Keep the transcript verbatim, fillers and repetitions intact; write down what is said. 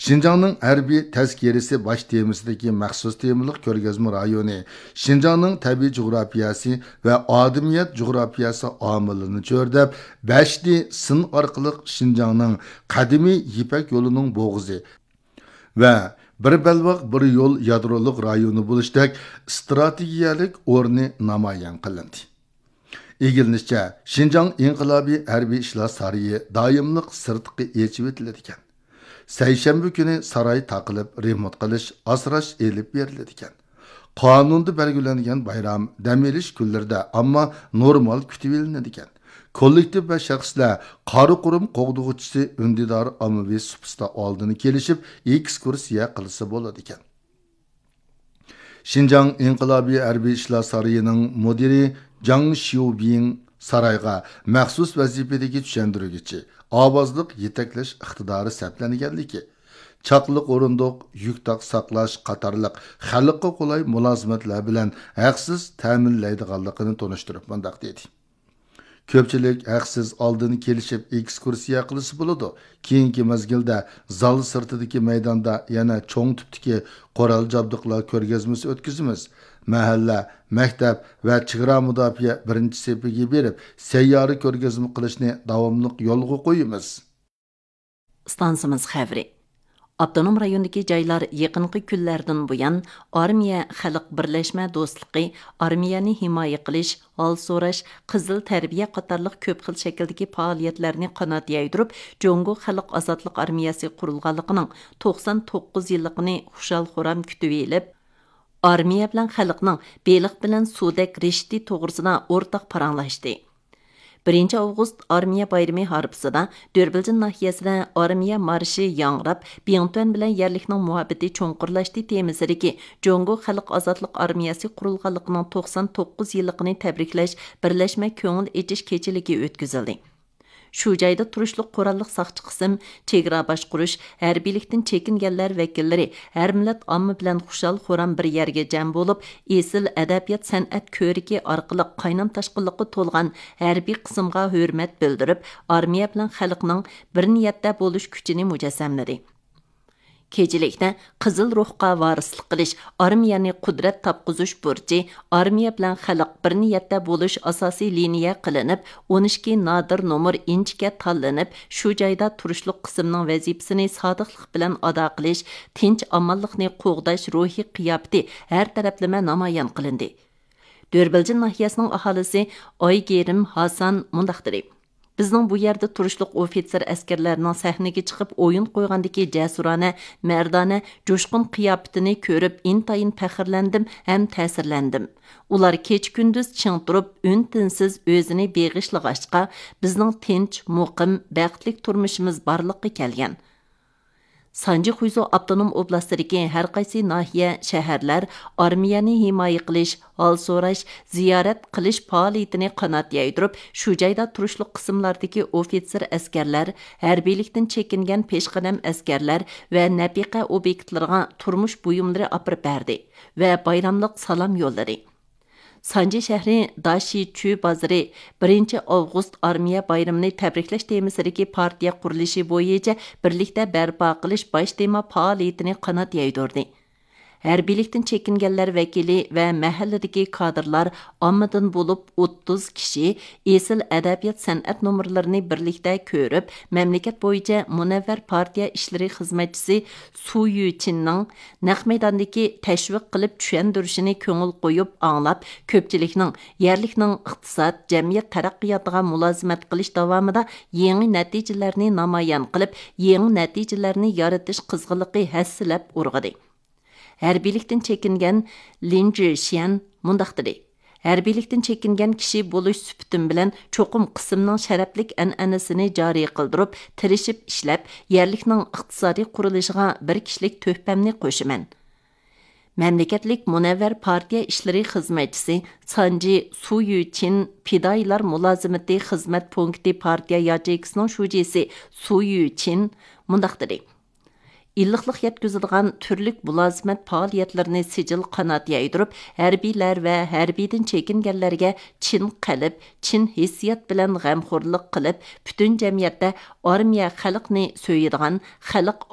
شىنجاڭنىڭ ھەربىي تەزكىرىسى باش تېمىسىدىكى مەخسۇس تېمىلىق كۆرگەزمە رايونى شىنجاڭنىڭ تەبىئىي جۇغراپىيەسى ۋە ئادىمىيەت جۇغراپىيەسى ئامىلىنى چۆرىدەپ، بەشنى سىن ئارقىلىق شىنجاڭنىڭ قەدىمىي يىپەك يولىنىڭ بوغۇزى ۋە بىر بەلباغ، بىر يول يادرولۇق رايونى بولۇشتەك ئىستراتېگىيەلىك ئورنى نامايان قىلىندى. ئىگىلىنىشىچە، شىنجاڭ ئىنقىلابىي ھەربىي ئىشلار سارىيى دائىملىق سىرتقا ئېچىۋېتىلىدىكەن. سەيشەنبە كۈنى ساراي تاقىلىپ، رېمونت قىلىش، ئاسراش ئېلىپ بېرىلىدىكەن. قانۇندا بەلگىلەنگەن بايرام، دەم ئېلىش كۈنلىرىدە، ئەمما نورمال كۈتۈۋېلىنىدىكەن. كوللېكتىپ ۋە شەخسلەر قارا قۇرۇم قوغدىغۇچىسى ئۈندىدار ئاممىۋى سۇپىسىدا ئالدىن كېلىشىپ، ئېكسكۇرسىيە قىلسا بولىدىكەن. شىنجاڭ ئىنقىلابىي ھەربىي ئىشلار سارىيىنىڭ مۇدىرى جاڭ شيۇبىڭ سارايغا مەخسۇس ۋەزىپىدىكى چۈشەندۈرگۈچى، ئاۋازلىق يېتەكلەش ئىقتىدارى سەپلەنگەنلىكى، چاقلىق ئورۇندۇق، يۈك تاق ساقلاش قاتارلىق خەلققە قولاي مۇلازىمەتلەر بىلەن ھەقسىز تەمىنلەيدىغانلىقىنى تونۇشتۇرۇپ مۇنداق دېدى: كۆپچىلىك ھەقسىز ئالدىن كېلىشىپ ئېكسكۇرسىيە قىلسا بولىدۇ. كېيىنكى مەزگىلدە زال سىرتىدىكى مەيداندا يەنە چوڭ تىپتىكى قورال جابدۇقلار كۆرگەزمىسى ئۆتكۈزىمىز. مەھەللە، مەكتەپ ۋە چېگرا مۇداپىئە بىرىنچى سېپىگە بېرىپ، سەييارە كۆرگەزمە قىلىشنى داۋاملىق يولغا قويىمىز. ئىستانسىمىز خەۋىرى. ئاپتونوم رايوندىكى جايلار يېقىنقى كۈنلەردىن بۇيان ئارمىيە خەلق بىرلەشمە دوستلۇقى، ئارمىيەنى ھىمايە قىلىش، ھال سوراش، قىزىل تەربىيە قاتارلىق كۆپ خىل شەكىلدىكى پائالىيەتلەرنى قانات يايدۇرۇپ، جۇڭگو خەلق ئازادلىق ئارمىيەسى قۇرۇلغانلىقىنىڭ توقسان توققۇز يىللىقىنى خۇشال-خۇرام كۈتۈۋېلىپ، ئارمىيە بىلەن خەلقنىڭ بېلىق بىلەن سۇدەك رىشتى توغرىسىدا ئورتاق پاراڭلاشتى. بىرىنچى ئاۋغۇست ئارمىيە بايرىمى ھارپىسىدا دۆربىلجىن ناھىيەسىدە ئارمىيە مارشى ياڭراپ، بىڭتۈەن بىلەن يەرلىكنىڭ مۇھەببىتى چوڭقۇرلاشتى تېمىسىدىكى جۇڭگو خەلق ئازادلىق ئارمىيەسى قۇرۇلغانلىقىنىڭ توقسان توققۇز يىللىقىنى تەبرىكلەش بىرلەشمە كۆڭۈل ئېچىش كېچىلىكى ئۆتكۈزۈلدى. شۇ جايدا تۇرۇشلۇق قوراللىق ساقچى قىسىم، چېگرا باشقۇرۇش، ھەربىيلىكتىن چېكىنگەنلەر ۋەكىللىرى، ھەر مىللەت ئامما بىلەن خۇشال-خۇرام بىر يەرگە جەم بولۇپ، ئېسىل ئەدەبىيات-سەنئەت كۆرىكى ئارقىلىق قاينام-تاشقىنلىققا تولغان ھەربىي قىسىمغا ھۆرمەت بىلدۈرۈپ، ئارمىيە بىلەن خەلقنىڭ بىر نىيەتتە بولۇش كۈچىنى مۇجەسسەملىدى. كېچىلىكتە قىزىل روھقا ۋارىسلىق قىلىش، ئارمىيەنى قۇدرەت تاپقۇزۇش بۇرچى، ئارمىيە بىلەن خەلق بىر نىيەتتە بولۇش ئاساسىي لىنىيە قىلىنىپ، ئون ئىككى نادىر نومۇر ئىنچىكە تاللىنىپ، شۇ جايدا تۇرۇشلۇق قىسىمنىڭ ۋەزىپىسىنى سادىقلىق بىلەن ئادا قىلىش، تىنچ-ئامانلىقنى قوغداش روھىي قىياپىتى ھەر تەرەپلىمە نامايان قىلىندى. دۆربىلجىن ناھىيەسىنىڭ ئاھالىسى ئايگېرىم ھاسان مۇنداق دېدى: بىزنىڭ بۇ يەردە تۇرۇشلۇق ئوفىتسېر ئەسكەرلەرنىڭ سەھنىگە چىقىپ ئويۇن قويغاندىكى جەسۇرانە، مەردانە، جۇشقۇن قىياپىتىنى كۆرۈپ ئىنتايىن پەخىرلەندىم ھەم تەسىرلەندىم. ئۇلار كېچە-كۈندۈز چىڭ تۇرۇپ، ئۈن-تىنسىز ئۆزىنى بېغىشلىغاچقا، بىزنىڭ تىنچ، مۇقىم، بەختلىك تۇرمۇشىمىز بارلىققا كەلگەن. سانجى خۇيزۇ ئاپتونوم ئوبلاستىدىكى ھەر قايسى ناھىيە، شەھەرلەر ئارمىيەنى ھىمايە قىلىش، ھال سوراش، زىيارەت قىلىش پائالىيىتىنى قانات يايدۇرۇپ، شۇ جايدا تۇرۇشلۇق قىسىملاردىكى ئوفىتسېر ئەسكەرلەر، ھەربىيلىكتىن چېكىنگەن پېشقەدەم ئەسكەرلەر ۋە نەپىقە ئوبيېكتلىرىغا تۇرمۇش بۇيۇملىرى ئاپىرىپ بەردى ۋە بايراملىق سالام يوللىدى. سانجى شەھىرى داشىچۈ بازىرى بىرىنچى ئاۋغۇست ئارمىيە بايرىمىنى تەبرىكلەش تېمىسىدىكى پارتىيە قۇرۇلۇشى بويىچە بىرلىكتە بەرپا قىلىش باش تېما پائالىيىتىنى قانات يايدۇردى. ھەربىيلىكتىن چېكىنگەنلەر ۋەكىلى ۋە مەھەللىدىكى كادىرلار ئاممىدىن بولۇپ ئوتتۇز كىشى ئېسىل ئەدەبىيات-سەنئەت نومۇرلىرىنى بىرلىكتە كۆرۈپ، مەملىكەت بويىچە مۇنەۋۋەر پارتىيە ئىشلىرى خىزمەتچىسى سۇ يۈچىننىڭ نەق مەيداندىكى تەشۋىق قىلىپ چۈشەندۈرۈشىنى كۆڭۈل قويۇپ ئاڭلاپ، كۆپچىلىكنىڭ يەرلىكنىڭ ئىقتىساد، جەمئىيەت تەرەققىياتىغا مۇلازىمەت قىلىش داۋامىدا يېڭى نەتىجىلەرنى نامايان قىلىپ، يېڭى نەتىجىلەرنى يارىتىش قىزغىنلىقى ھەسسىلەپ ئۇرغۇدى. ھەربىيلىكتىن چېكىنگەن لىن جۈشيەن مۇنداق دېدى: ھەربىيلىكتىن چېكىنگەن كىشى بولۇش سۈپىتىم بىلەن، چوقۇم قىسىمنىڭ شەرەپلىك ئەنئەنىسىنى جارى قىلدۇرۇپ، تىرىشىپ ئىشلەپ، يەرلىكنىڭ ئىقتىسادىي قۇرۇلۇشىغا بىر كىشىلىك تۆھپەمنى قوشىمەن. مەملىكەتلىك مۇنەۋۋەر پارتىيە ئىشلىرى خىزمەتچىسى سانجى سۇ يۈچىن پىدائىيلار مۇلازىمىتى خىزمەت پونكىتى پارتىيە ياچېيكىسىنىڭ شۇجىسى سۇ يۈچىن مۇنداق دېدى: ئىللىقلىق يەتكۈزىدىغان تۈرلۈك مۇلازىمەت پائالىيەتلىرىنى سىجىل قانات يايدۇرۇپ، ھەربىيلەر ۋە ھەربىيدىن چېكىنگەنلەرگە چىن قەلب، چىن ھېسسىيات بىلەن غەمخورلۇق قىلىپ، پۈتۈن جەمئىيەتتە ئارمىيە خەلقنى سۆيىدىغان، خەلق